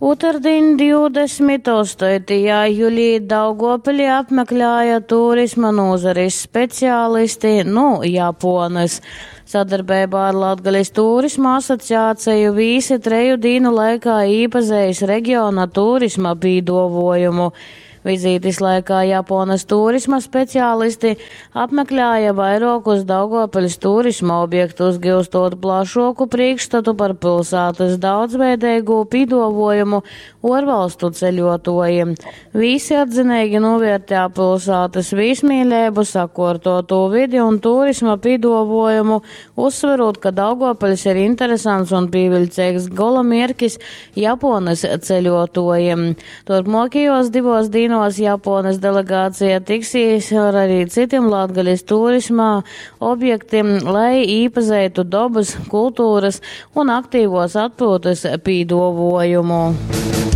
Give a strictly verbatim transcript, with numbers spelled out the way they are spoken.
Ūtardiņ divdesmit ostoitajā julī Daugovpili apmeklēja turisma nūzaris specialisti nu Japuonys. Sadarbeibā ar Latgales Turisma asociaceju vīsi treju dīnu laikā īpazeis regiona turisma pīduovuojumu. Vizītis laikā Japuonys turisma specialisti apmeklēja vairuokus Daugovpiļs turisma objektus, giustot plašuoku prīškstatu par pilsātys daudzveideigū pīduovuojumu uorvalstu ceļuotuojim. Vīsi atzineigi nūviertēja pilsātys vīsmīleibu, sakuortuotū vidi un turisma pīduovuojumu, uzsverūt, ka Daugovpiļs ir interesants un pīviļceigs golamierkis Japuonys ceļuotuojim. Turpmuokajuos divuos dīnuos Japuonys delegācija tiksīs ar arī citim Latgales turisma objektim, lai īpazeitu dobys, kultūrys un aktīvuos atpyutys pīduovuojumu.